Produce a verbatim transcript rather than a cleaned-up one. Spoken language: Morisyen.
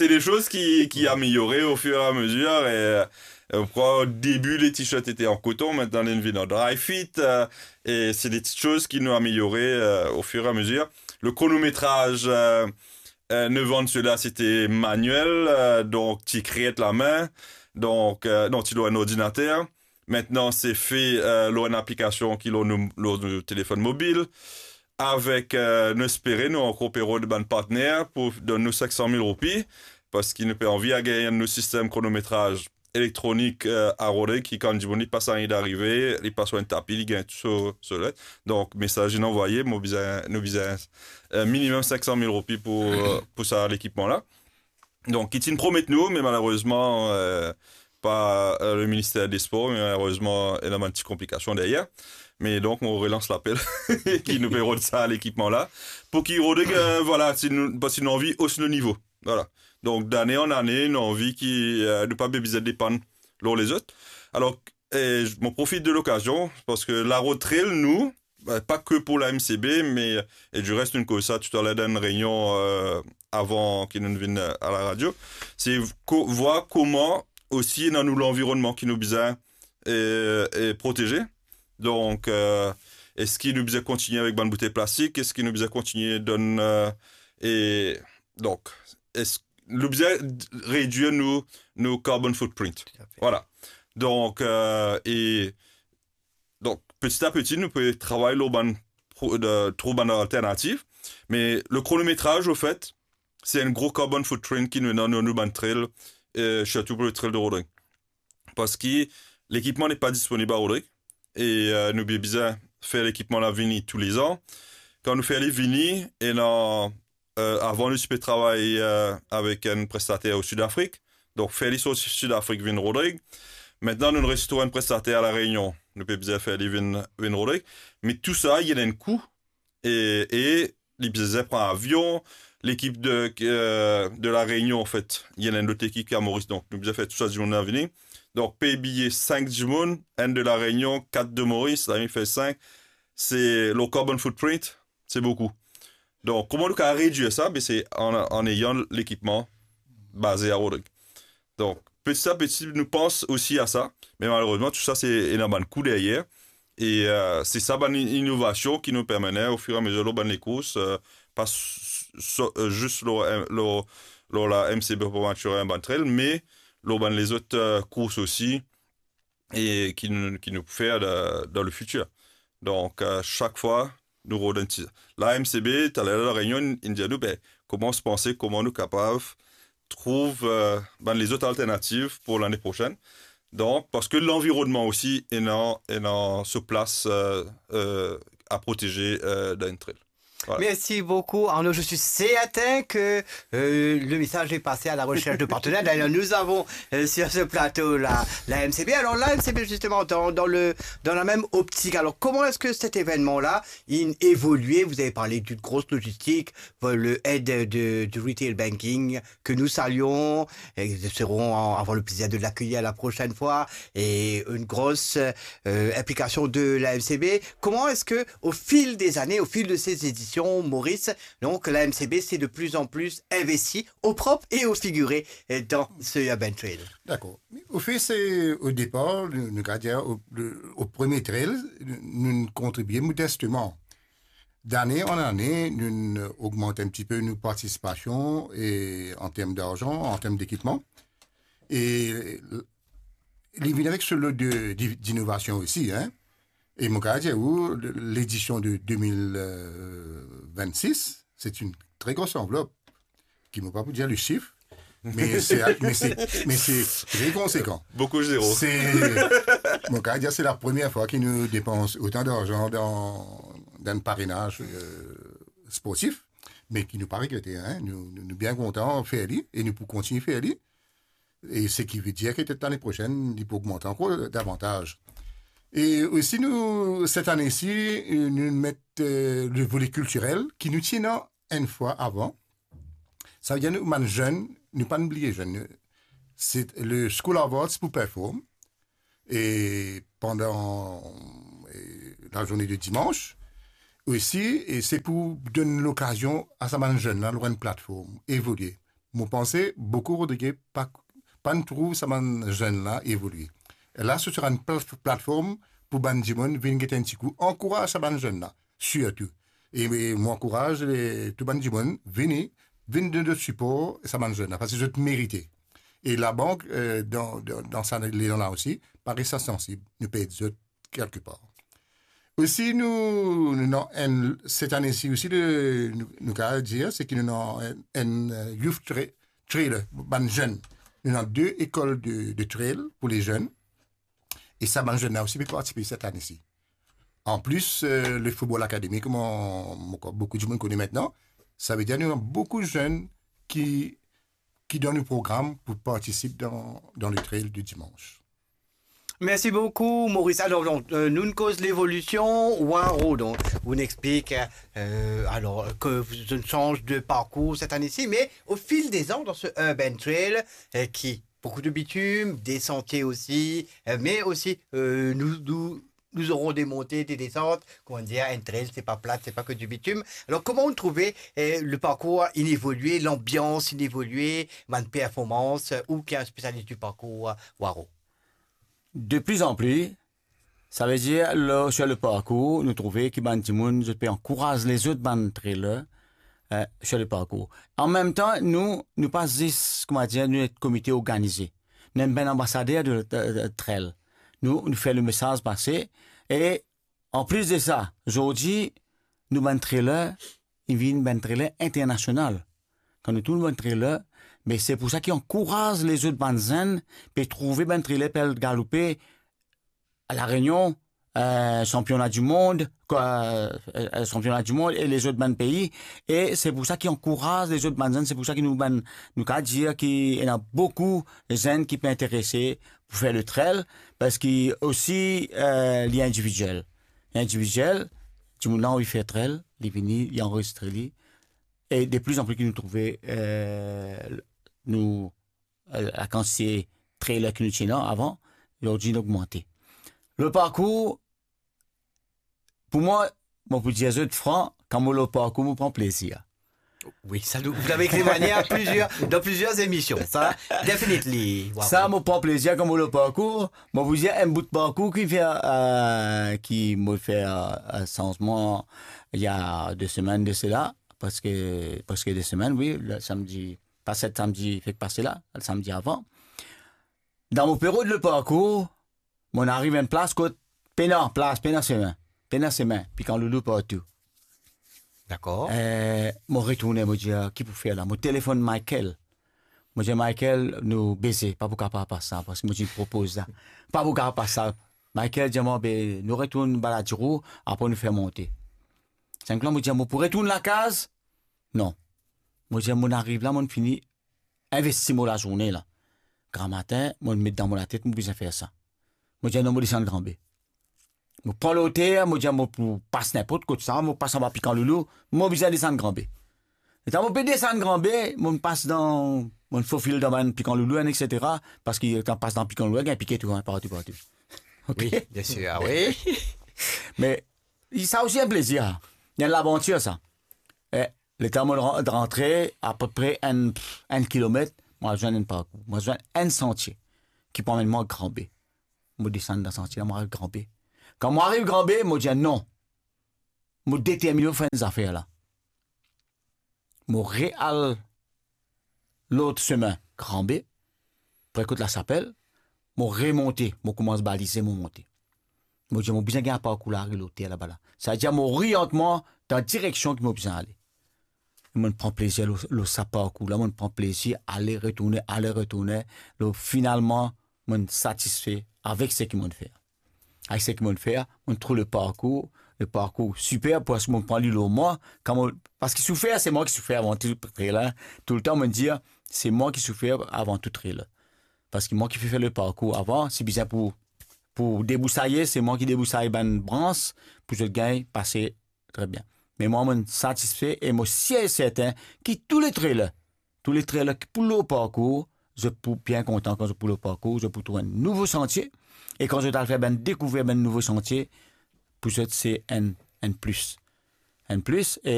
C'est des choses qui, qui améliorées au fur et à mesure. Et, euh, on croit au début, les t-shirts étaient en coton, maintenant, ils viennent en dry fit. Euh, et c'est des petites choses qui nous améliorées, euh, au fur et à mesure. Le chronométrage, euh, euh, neuf ans de cela, c'était manuel, euh, donc ti ekrir la main, donc, euh, non, ti lor enn ordinater. Maintenant, c'est fait, euh, lor enn aplikasion ki lor nou, lor nou telefon mobil. Avek, euh, nou espere, nou ankor pe rod bann partner pou donn nou cinq cent mille roupi, parski nou pe anvi gagn nou sistem kronometraz elektronik, euh, a Rodrig, ki kan dimoun li pas, li arive, li pas lor enn tapi, li gagn tou so, so let. Donk, mesaz inn anvoye, mo bizin, nou bizin, euh, minimum cinq cent mille roupi pou, euh, pou sa lekipman la. Donk, ki ti promet nou, me malerezman, euh, pa, euh, le minister de spor, me malerezman, ena bann ti konplikasion deryer. Me donk, mo relans lapel ki nou pe rod sa lekipman la. Pou ki Rodrig, euh, vwala, si nou, parski nou anvi os nou nivo. Vwala. Donk, dane an ane, nou anvi ki, euh, nou pa bizin depann lor lezot. Alor, e mo profit de lokazion, parski la rod trail, nou, ba, pa ke pou la M C B, me, e di res, nou koz sa toutaler dan enn reynion, euh, avan ki nou vinn, euh, a la radio, se ko-, vwar kouma osi ena nou lanvironnman ki nou bizin, e, e proteze. Donk, euh, eski nou bizin kontigne avek bann boutey plastik? Eski nou bizin kontigne donn, euh, e donk, eski nou bizin redwir nou, nou carbon footprint? Toutafe. Vwala. Donk, euh, e donk, peti a peti, nou pe travay lor bann pro-, de, trouv bann alternativ. Me le kronometraz, anfet, se enn gro carbon footprint ki nou ena dan nou bann trail, e sirtou pou le trail de Rodrig. Parski lekipman n'est pas disponible à Rodrig, e, euh, nou bizin fer lekipman la vini toulezan. Kan nou fer li vini, ena, euh, avan nou ti pe travay, euh, avek enn prestater o Sidafrik. Donk, fer li sorti Sidafrik vinn Rodrig. Mintnan, nou res trouv enn prestater a La Reynion. Nou pe bizin fer li vinn, vinn Rodrig. Me tou sa, li ena enn kou. E, e li bizin pran avion. Lekip de, euh, de La Reynion, anfet, li ena enn lot lekip ki a Moris. Donk, nou bizin fer tou sa dimoun la vini. Donk, pey biye sink dimoun, enn de La Reynion, kat de Moris, la, li fer sink. Se, le carbon footprint, se boukou. Donk, kouma nou kapav redwir sa? Be, se an, an neyan lekipman baze a Rodrig. Donk, peti a peti, nou pans osi a sa, me malerezman, tou sa, se ena bann kou deryer. E, euh, se sa bann i-, inovasion ki nou pe mennen ofiramezer lor bann lekours, euh, pa s-, s-, euh, zis lor, lor, lor la M C B Pommaturin, bann trail, me lor bann lezot, euh, kours osi, e ki nou, ki nou pou fer dan, dan le fitir. Donk, euh, sak fwa, nou rod enn ti. La M C B, taler La Reynion, inn dir nou, be, koumans panse kouma nou kapav trouv, euh, bann lezot alternativ pou lane prosenn. Donk, parski lanvironnman osi ena, ena so plas, euh, euh, a proteze, euh, dan enn trail. Voilà. Merci beaucoup, Arnaud. Je suis certain que, euh, le message est passé à la recherche de partenaires. D'ailleurs, nous avons, euh, sur ce plateau la, la M C B. Alors, la M C B, justement, dans, dans le, dans la même optique. Alors, comment est-ce que cet événement-là, il évolue? Vous avez parlé d'une grosse logistique, euh, le head de, du retail banking, que nous saluons, et nous serons en-, avoir le plaisir de l'accueillir la prochaine fois, et une grosse, euh, implication de la M C B. Comment est-ce que, au fil des années, au fil de ces éditions, Maurice, donc la M C B s'est de plus en plus investie au propre et au figuré, euh, dans ce Urban Trail? Dakor. Anfet, se o depar, nou, nou kapav dir, o, le, o premie trail, nou, nou kontribie modesteman. Dane an ane, nou ogmant enn tipe nou partisipasion e an term darzan, an term dekipman. E li vinn avek so lot de, di-, dinovasion osi, hein. E mo kapav dir ou, ledision de de mil vennsis, se enn tre gro anvlop, ki mo pa pou dir le sif, me se, me se, me se tre konsekan. Boukou zero. Se, mo kapav dir, se la premie fwa ki nou depans otan darzan dan, dan parenaz, euh, sportif, me ki nou pa regrete, hein. Nou, nou, nou bien kontan fer li, e nou pou kontigne fer li. E seki ve dir ki petet lane prosenn, li pou ogmant ankor davantaz. E osi nou, set ane si, euh, nou met, euh, le vole kiltirel ki nou ti ena enn fwa avan. Sa ve dir nou, bann zenn, nou pa bliye zenn. Se le School of Arts pou perform. E pandan, e, lazourne de dimans, osi, e se pou donn lokazion a sa bann zenn la, lor enn platform, evolie. mo panse boukou Rodrige pa, pa'nn trouv sa bann zenn la evolie. La, se sera enn plat-, platform pou bann dimoun vinn get enn tikou, ankouraz sa bann zenn la, sirtou. E, e mo ankouraz, e, tou bann dimoun, vini, vinn donn zot sipor sa bann zenn la, parski zot merite. E labank, e, dan, dan, dan sa letan la osi, pa res insansib, nou pe ed zot kelke par. Osi, nou, nou ena enn, set ane si osi, le, nou, nou kapav dir, se ki nou ena enn, enn, e, youth tra-, trailer, bann zenn. Nou ena de lekol de, de trail pou le zenn. E sa, bann zenn la osi pe partisipe set ane si. An plis, e, le Football Academy, kouma mo krwar boukou dimoun kone aster, savedir nou ena boukou zenn ki, ki dan nou program pou partisip dan, dan le trail de dimans. Merci beaucoup, Maurice. Alors, donc, euh, nous, on cause l'évolution, Waro, donc, on explique, euh, alors, que vous, on change de parcours cette année-ci, mais au fil des ans, dans ce Urban Trail, euh, qui, beaucoup de bitume, des sentiers aussi, euh, mais aussi, euh, nous, nous, nous aurons des montées, des descentes. Comment dire, un trail, c'est pas plat, c'est pas que du bitume. Alors, comment on trouvait, euh, le parcours inévolué, l'ambiance inévoluée, bonne performance, euh, ou qui est un spécialiste du parcours, euh, Waro? De pli an pli, savedir, lor, sir le parkour, nou trouve ki bann dimoun, zot pe ankouraz lezot bann trailer, eh, sir le parkour. An mem tan, nou, nou pa zis, kouma dir, nou enn komite organize. Nou enn bann anbasader de, de, de trail. Nou, nou fer le mesaz pase. E an plis de sa, zordi, nou bann trailer, li vinn bann trailer internasional. Kan nou trouv bann trailer, me se pou sa ki ankouraz lezot bann zenn, pe trouve bann trailer pe al galoupe a La Réunion, eh, sanpiona di mond, kwa, eh, eh, sanpiona di mond e lezot bann pei, e se pou sa ki ankouraz lezot bann zenn, se pou sa ki nou bann, nou kapav dir ki ena boukou zenn ki pe interese pou fer le trail, parski osi, eh, li individiel. Individiel, dimoun la anvi fer trail, li vini, li anrezistre li. E de pli an pli ki nou trouve, eh, nou, eh, lakantite trailer ki nou ti ena avan, zordi inn ogmante. Le parkour, pou mwa, mo pou dir zot fran, kan mo lor parkour, mo pran plezir. Oui, ça, nous, vous l'avez témoigné à plusieurs, dans plusieurs émissions. Ça, definitely. Wow. Sa, mo pran plezir kan mo lor parkour. Mo pou dir enn bout parkour ki fer, eh, ki mo fer, eh, sanzman, il y a deux semaines de cela, preske, preske de semenn, oui, le samedi, pa set samedi fek pase la, le samedi avan. Dan mo pe rod le parkour, mo ariv enn plas kot pena plas, pena semin, pena semin, pikan loulou partou. Dakor. Eh, mo retourne, mo dir, "Ki pou fer la?" Mo telefonn Michael. Mo dir, "Michael, nou beze, pa pou kapav pas sa, parski mo ti propoz sa. Pa pou kapav pas sa." Michael dir mwa, "Be, nou retourn Baladiro, apre nou fer monte." Sink la, mo dir, "Mo pou retourn lakaz?" Non. Mo dir, "Mo ariv la, mo fini investi mo lazourne la. Gramatin, mo met dan mo latet, mo bizin fer sa." Mo dir, "Non, mo desann Granbe." Mo pran loter, mo dir, "Mo pou pas ninport kot sa, mo pas anba Pikan Loulou, mo bizin desann Granbe." Letan mo pe desann Granbe, mo pas dan, mo fofil dan bann Pikan Loulou, et cetera, parski kan pas dan Pikan Loulou, gagn pike tou, hein, partou, partou. Ok? Oui, bien sûr, ah oui. Me sa osi enn plezir, enn lavantir sa. E letan mo ran-, rantre apepre enn, enn kilomet, mo al zwenn enn parkour, mo al zwenn enn santie ki pou amenn mwa Granbe. Mo desann dan santie la, mo al Granbe. Kan mo ariv Granbe, mo dir, "Non, mo determine mo fer enn zafer la." Mo real lot semin Granbe, pre kot Lasapel, mo remonte, mo koumans balize, mo monte. Mo dir, "Mo bizin gagn parkour la, ariv loter laba la." Savedir mo oriant mwa dan direksion ki mo bizin ale. Mo pran plezir lor, lor sa parkour la, mo pran plezir ale, retourne, ale, retourne. Lor, finalman, mo satisfe avek seki mo fer. Avek seki mo fer, mo trouv le parkour, le parkour siper, parski mo pran li lor mwa, kan mo, parski soufer, se mwa ki soufer avan tou, la, toultan mo dir, se mwa ki soufer avan tou la. Parski mwa ki fer le parkour avan, si bizin pou, pou debousaye, se mwa ki debousay bann brans, pou zot gagn pase tre bien. Me mwa, mo satisfe e mo sir e serten ki tou le trailer, tou le trailer ki pou lor parkour, zot pou bien kontan kan zot pou lor parkour, zot pou trouv enn nouvo santie, e kan zot al fer bann dekouver bann nouvo santie, pou zot se enn, enn plis. Enn plis, e